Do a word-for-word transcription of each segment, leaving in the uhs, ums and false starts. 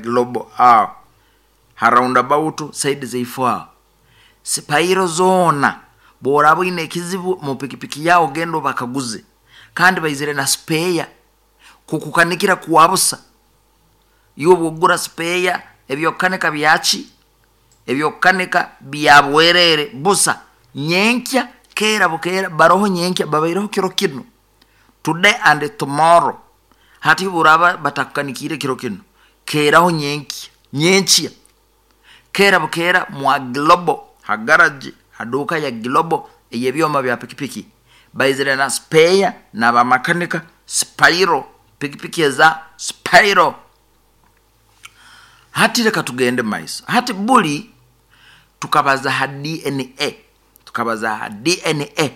Global aho ha roundabout side zaife aho. Sipairo zoona, bworaba oine ekizibu mu pikipiki yawe, ogenda obakaguze, kandi baizire na spare kukukanikira kwa busa. Iwe bwogura spare, ebyokukanika byaki, ebyokukanika bya bwerere, busa. Nyenkya keera bukeera baroho, nyenkya babaireho kiro kinu, today and tomorrow. Hati boraba batakukanikiire kiro kinu, keeraho nyenkya, nyenkya keera bukeera mwa Global ha garage, ha duuka ya Global ey'ebyoma bya pikipiki. Baizire na spare n'abamakanika spairo, pikipiki eza spairo. Hati leka tugende maiso. Hati buli tukabaza ha D N A, tukabaza ha D N A,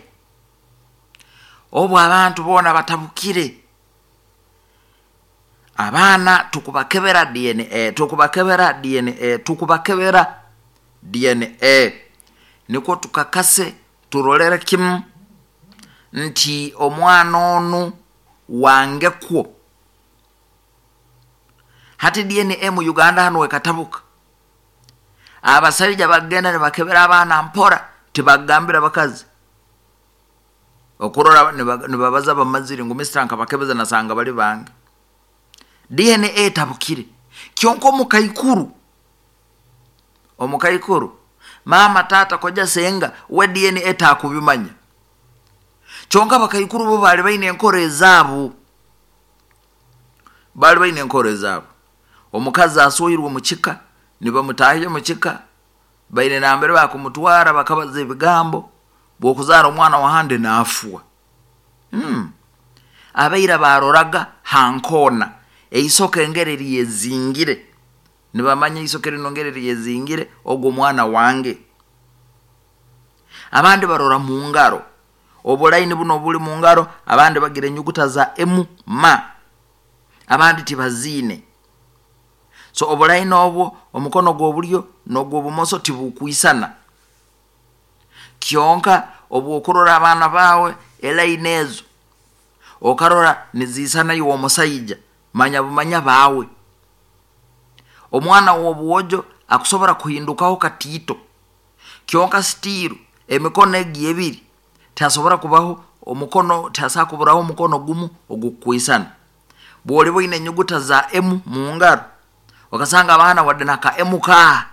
obu abantu boona batabukire. Abaana tukubakebera D N A, tukubakebera D N A, tukubakebera D N A nikwo tukakase, turolere kimu nti omwana onu wangekwo. Hati D N A mu Uganda hanu wekatabuka. Abasaija bagenda nibakebera abaana mpora, tibagambira bakazi. Okurora nibabaza bamazire ngu mister, nkabakebeza nasanga bali bange. D N A etabukire. Kyonka omukaikuru, omukaikuru, mama, tata, koja, senga, we D N A takubimanya. Kyonka abakaikuru bo bali baine enkora ezaabo, bali baine enkora ezaabo. Omukazi aswoirwe mukika, nibamutahya mukika, baine nambere bakumutwara, bakabaza ebigambo, bwokuzaara omwana wahandi naafwa. hmm. Abaira baroraga hankoona eisoke engeri ryezingire, nibamanya isoke rino ngeri ryezingire, ogwo mwana wange. Abandi barora mu ngaro, obulaini buno obuli mu ngaro. Abandi bagira enyuguta za emu ma, abandi tibaziine. So obulaini obwo, omukono gw'obulyo n'ogw'obumoso tibukwisana. Kyonka obwokurora abaana bawe elaini ezo okarora niziisana, iwe omusaija manya bumanya baawe. Omwana w'obwojo akusobora kuhindukaho katiito, kyonka still emikono egi ebiri tihasobora kubaho omukono, tihasobora kuburaho omukono gumu ogukwisana. Bwoliba oine enyuguta za emu mu ngaro, okasanga abaana wadde naka emu kaa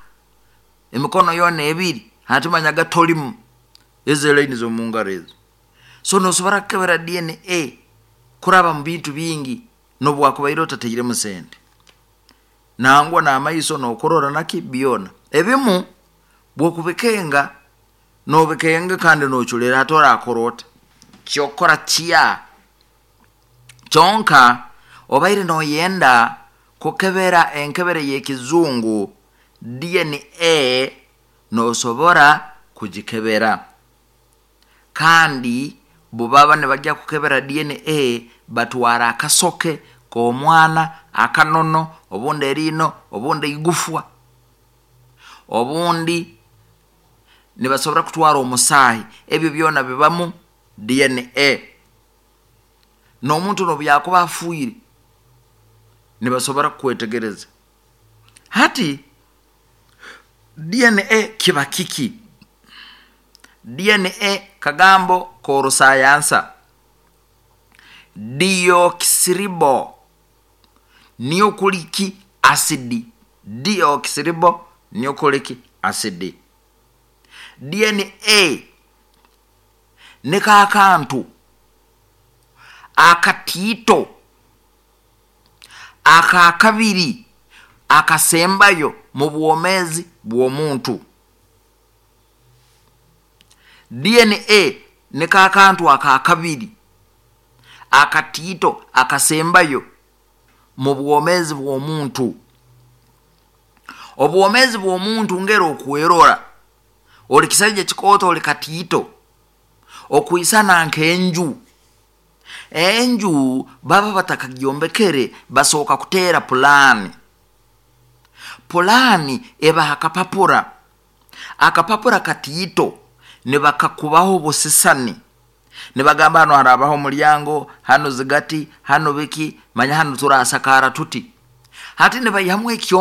emikono yoona ebiri, hati manyaga tolimu ezo elaini z'omu ngaro ezo. So nosobora kukebera D N A kuraba mu bintu bingi nobu wakubaire otatairemu sente. Nangwa n'amaiso nokurora naki byona ebimu bwokubikenga, nobikenga kandi noculera. Hati orakora ota? Kyokora kya kyonka obaire noyenda kukebera enkebere y'ekizungu D N A, nosobora kugikebera. Kandi bubaba nibajya kukebera D N A, batwara akasoke k'omwana, akanono, obundi eriino, obundi igufwa, obundi nibasobora kutwara omusaahi. Ebyo byona bibamu D N A. N'omuntu nobu yakuba afiire, nibasobora kukwetegereza. Hati D N A kiba kiki? D N A kagambo k'orusayansa, deoxyribo nucleic acid, deoxyribo nucleic acid. D N A niko akantu akatiito akakabiri akasembayo mu bwomeezi bw'omuntu. D N A niko akantu akakabiri akatiito akasembayo mu bwomeezi bw'omuntu. Obwomeezi bw'omuntu ngeri okwerora, oli kisaija kikooto, oli katiito okwisana nk'enju. Enju baba batakagyombekere, basooka kuteera pulaani. Pulaani ebaha akapapura, akapapura katiito, nibakakubaho obusisani, nibagamba hano harabaho omulyango, hano zigati, hano biki, manya hano turasakara tuti. Hati nibaihamu ekyo.